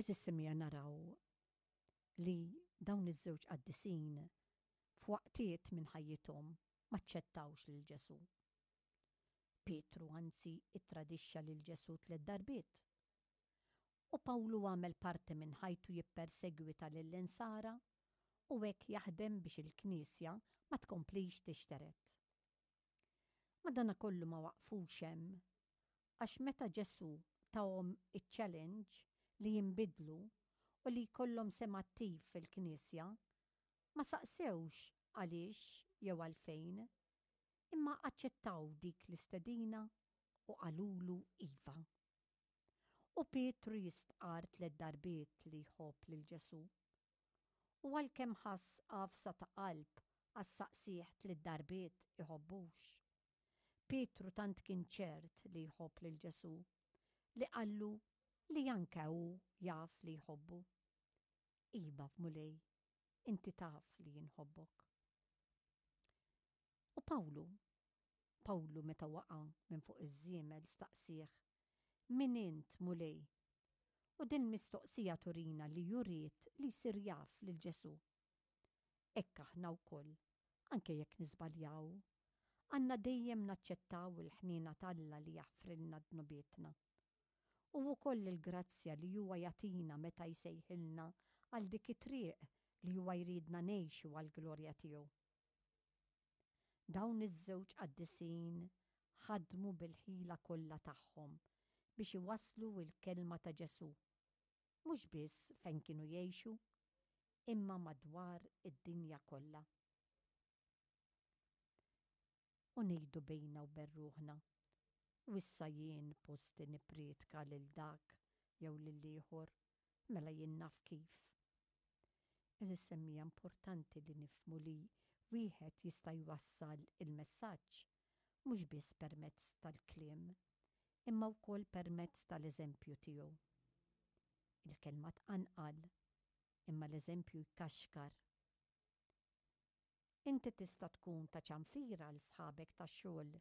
Għeżież semmiegħa naraw li dawn iż-żewġ qaddisin f'waqtiet minn ħajjithom m'aċċettawx lil Ġesù. Pietru anzi ittradixxa lil Ġesù tlett darbiet. U Pawlu għamel parti minn ħajtu jippersegwita lill-Insara u hekk jaħdem biex il-Knisja ma tkomplix tixtered. Madanakollu ma waqfux hemm għax meta Ġesù tahom iċ-challenge li jinbidlu u li jkollhom sehem attiv fil-Knisja, ma saqsewx għaliex jew għalfejn, imma aċċettaw dik l-istedina u qalulu iva. U Pietru jistqarr tlett darbiet li jħobb lil Ġesù. U għalkemm ħass għafsa ta' qalb għax saqsieh tliet darbiet iħobbux, Pietru tant kien ċert li jħobb lil Ġesù li qallu li anke hu jaf li jħobbu. Iva, Mulej, inti taf li jien nħobbok. U Pawlu? Pawlu meta waqa' minn fuq iż-żiemel staqsieh, Min int, Mulej? U din il-mistoqsija turina li hu ried li jsir jaf lil Ġesù. Hekk aħna wkoll, anke jekk niżbaljaw, għandna dejjem naċċettaw il-ħniena t'Alla li jaħfrilna dnubietna. U wkoll il-grazzja li huwa jagħtina meta jsejħilna għal dik it-triq li huwa jridna ngħixu għall-glorja tiegħu. Dawn iż-żewġ qaddisin ħadmu bil-ħila kollha tagħhom biex iwasslu l-kelma ta' Ġesù, mhux biss fejn kienu jgħixu, imma madwar id-dinja kollha. U ngħidu bejna u bejn ruħna, U issa jien posti nipprietka lil dak jew lill-ieħor, mela jien naf kif. Għeżież semmiegħa importanti li nifhmu li wieħed jista' jwassal il-messaġġ mhux biss permezz tal-kliem, imma wkoll permezz tal-eżempju tiegħu. Il-kelma tqanqal, imma l-eżempju jkaxkar. Inti tista' tkun ta' ċanfira għal sħabek tax-xogħol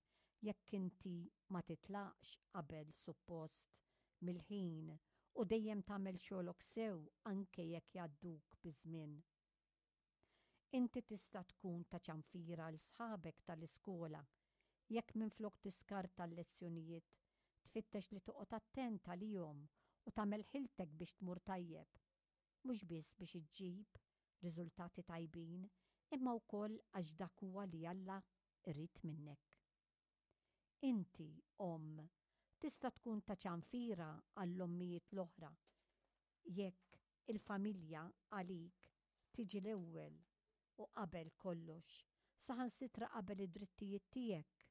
jekk inti ma titlaqx qabel suppost mill-ħin u dejjem tagħmel xogħlok sew anke jekk jgħadduk biż-żmien. Inti tista' tkun ta' ċanfira għal sħabek tal-iskola jekk minflok tiskarta l-lezzjonijiet, tfittex li toqgħod attent għalihom u tagħmel ħiltek biex tmur tajjeb. mhux biss biex iġġib riżultati tajbin imma wkoll għax dak huwa li Alla jrid minnek. Inti, omm, tista' tkun ta' ċanfira għall-ommijiet l-oħra jekk il-familja għalik tiġi l-ewwel u qabel kollox, saħansitra qabel id-drittijiet tiegħek.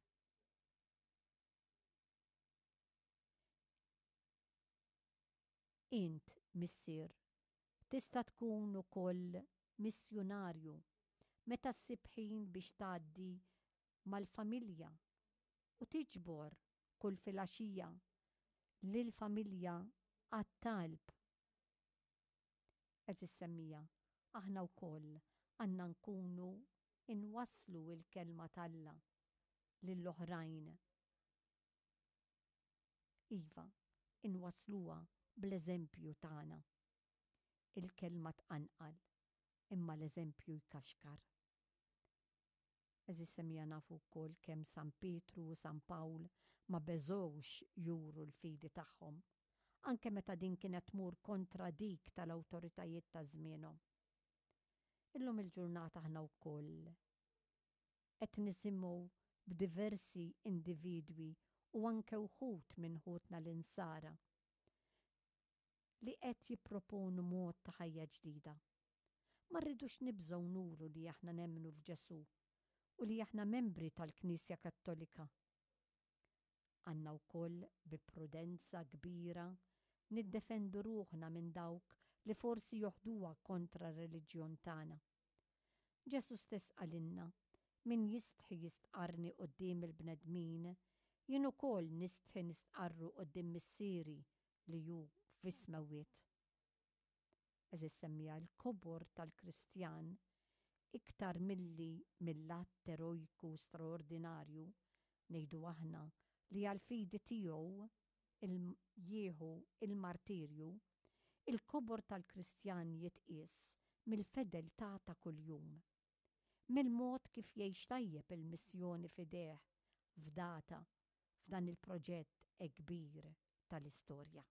Int, missier, tista' tkun ukoll missjunarju meta ssib ħin biex tgħaddi mal-familja u tiġbor kull filgħaxija lill-familja għat-talb. Għeżież semmiegħa, aħna wkoll għandna nkunu nwasslu l-Kelma t'Alla lill-oħrajn. Iva, inwassluha bl-eżempju tagħna. Il-kelma tqanqal, imma l-eżempju jkaxkar. Għeżież semmiegħa nafu wkoll kemm San Pietru u San Pawl ma beżgħux juru l-fidi tagħhom, anke meta din kienet tmur kontra dik tal-awtoritajiet ta' żmienhom. Illum il-ġurnata aħna wkoll Qed nisimgħu b'diversi individwi u anke wħud minn ħutna l-Insara li qed jipproponu mod ta' ħajja ġdida. Ma rridux nibżgħu nuru li aħna nemmnu f'Ġesù u li aħna membri tal-Knisja Kattolika. Għandna wkoll bi prudenza kbira niddefendu ruħna minn dawk li forsi joħduha kontra r-reliġjon tagħna. Ġesù stess qalilna, Min jistħi jistqarrni quddiem il-bnedmin, jien ukoll nistħi nistqarru quddiem Missieri li hu fis-smewwiet. Għeżież semmiegħa, il-kobor tal-Kristjan, iktar milli mill-att erojku straordinarju, ngħidu aħna, li għall-fidi tiegħu jieħu l-martirju, Il-kobor tal-Kristjan jitqies mill-fedeltà ta' kuljum, mill-mod kif jgħix tajjeb il-missjoni f'idejh fdata f'dan il-proġett hekk kbir tal-istorja.